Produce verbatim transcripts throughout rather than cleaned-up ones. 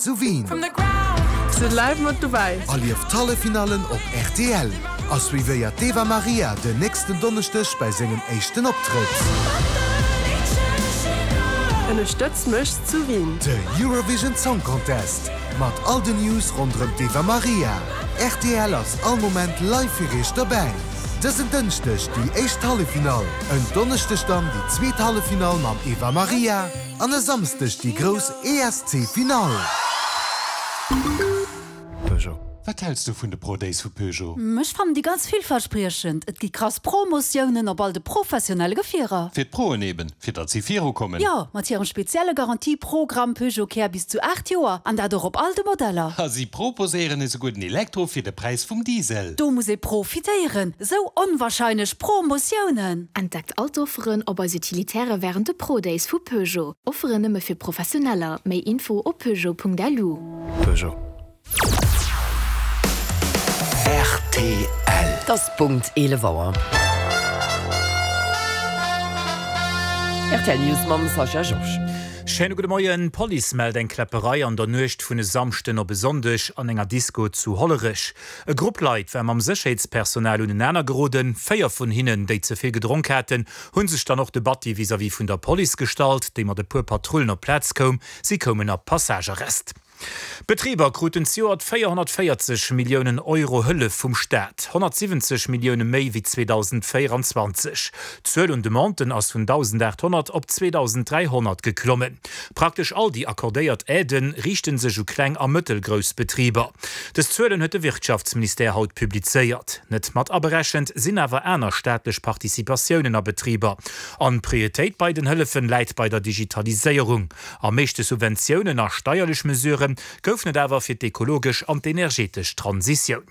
Zu Wien. Sidd live mat dobäi. Erlieft d'Halleffinallen op rtl a suivéiert d'Eva Marija den nächsten Donneschdeg bei sengem éischten Optrëtt. Ënnerstëtz mech zu Wien. De Eurovision Song Contest mat all den News ronderëm d'Eva Marija. Rtl ass all Moment live fir iech dobäi. Dësen Dënschdeg déi éischt Halleffinall, en Donneschdeg dann déi zweet Halleffinall mam Eva Marija an e Samschdeg déi grouss E S C-Finall. Peugeot. Wat häls du vun de Pro Days vu Peugeot? Ech fannen déi ganz villverspriechend. Et gi krass Promotiounen op all de professionelle Gefierer. Fir d'Proen eben, fir datt si virukommen. Jo, mat hirem spezielle Garantieprogramm Peugeot Care bis zu aacht Joer an dat och op all de Modeller. A si proposéieren esouguer den Elektro fir de Präis vum Diesel. Do muss ee profitéieren. Sou onwahrscheinlech Promotiounen. Entdeckt all d'Offeren op eis Utilitäre wärend de Pro Days vu Peugeot. Offeren nëmme fir Professioneller. Méi Info op peugeot Punkt L U. Peugeot. R T L. Et ass Punkt eelef Auer. R T L News mam Sascha Georges. Schéine gudde Moien. D'Police mellt eng Kläpperei an der Nuecht vun e Samschden op e Sonndeg an enger Disko zu Hollerech. E Grupp Leit war mam Sécherheetspersonal unenaner geroden. Véier vun hinnen, déi ze vill gedronk haten, hu sech dann och de Batti vis-à-vis vun der Police gestallt, déi mat e puer Patrullen op d'Plaz koum. Si koumen a Passagearrest. Betriber kruten zejoert véierhonnertvéierzeg Milliounen Euro Hëllef vum Staat, honnertsiwwenzeg Millioune méi wéi zweedausendvéierenzwanzeg. D'Zuel un Demanden ass vun dausendaathonnert op zweedausendräihonnert geklommen. Praktesch all déi accordéiert Aidë riichte sech u kleng a mëttelgrouss Betriber. Dës Zuelen huet de Wirtschaftsministère haut publizéiert. Net mat aberechent sinn awer aner staatlech Participatiounen a Betriber. An d'Prioritéit bei den Hëllefen läit bei der Digitaliséierung. Am meeschte Subventiounen a steierlech Mesurë goufen et awer fir d'ekologesch an d'energetesch Transitioun.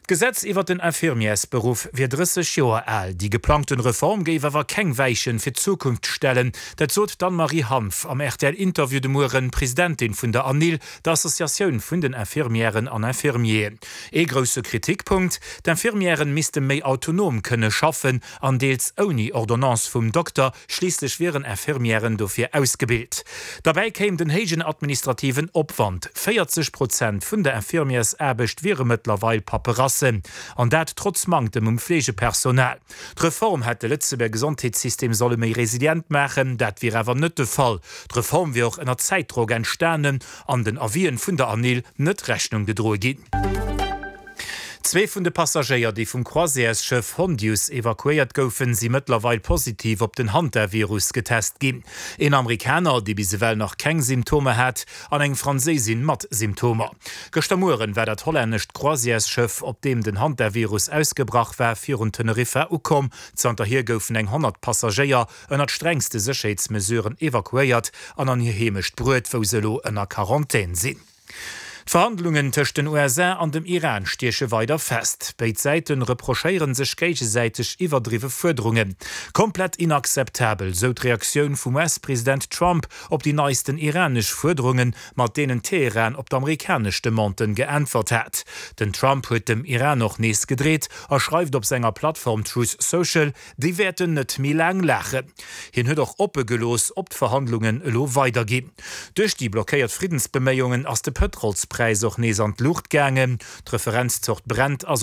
D'Gesetz iwwer den Infirmiersberuff wier drësseg Joer al. Déi geplangten Reform géif awer keng Weichen fir d'Zukunft stellen. Dat sot d'Anne-Marie Hanff am R T L-Interview de Mueren, Presidentin vun der ANIL, der Associatioun vun den Infirmièren an Infirmieren. Ee grousse Kritikpunkt, D'Infirmièren misste méi autonom kënne schaffen an deels ouni Ordonnance vum Dokter, schliisslech wieren Infirmièren dofir ausgebilt. Derbäi kéim den héijen administrativen Opwand, véierzeg Prozent vun der Infirmiersaarbecht wiere mëttlerweil Paperasse. An dat trotz Manktem um Fleegepersonal. D'Reform hätt de Lëtzebuerger Gesondheetssystem solle méi resilient maachen, dat wier awer net de Fall. D'Reform wier och ënner Zäitdrock entstanen an den Avisen vun der ANIL net Rechnung gedroe ginn. Zwee vun de Passagéier, déi vum Croisièresschëff Hondius evakuéiert goufen, si mëttlerweil positiv op den Hantavirus getest ginn. Een Amerikaner, dee bis ewell nach keng Symptomer hat, an eng Franséisin mat Symptomer. Gëschter Mueren war dat hollännescht Croisièresschëff, op deem den Hantavirus ausgebrach war, virun Teneriffa ukomm. Zanterhier goufen eng honnert Passagéier ënnert strengste Sécherheetsmesuren evakuéiert an an hir Heemecht bruet, wou se elo ënner Quarantän sinn. D'Verhandlungen tëscht den U S A an dem Iran stieche weider fest. Béid Säite reprochéiere sech géigesäiteg iwwerdriwwe Fuerderungen. Komplett inakzeptabel, sou d'Reaktioun vum U S-President Trump op déi neisten iranesch Fuerderungen, mat deenen Teheran op d'amerikanesch Demanden geäntwert hat. Den Trump huet dem Iran och nees gedreet a schreift op senger Plattform Truth Social, déi wäerten net méi laang laachen. Hien huet och oppe gelooss, ob d'Verhandlungen elo weiderginn. Duerch déi blockéiert Friddensbeméiungen ass de Pëtrolspräis och nees an d'Luucht gaangen. D'Referenzzort Brent ass op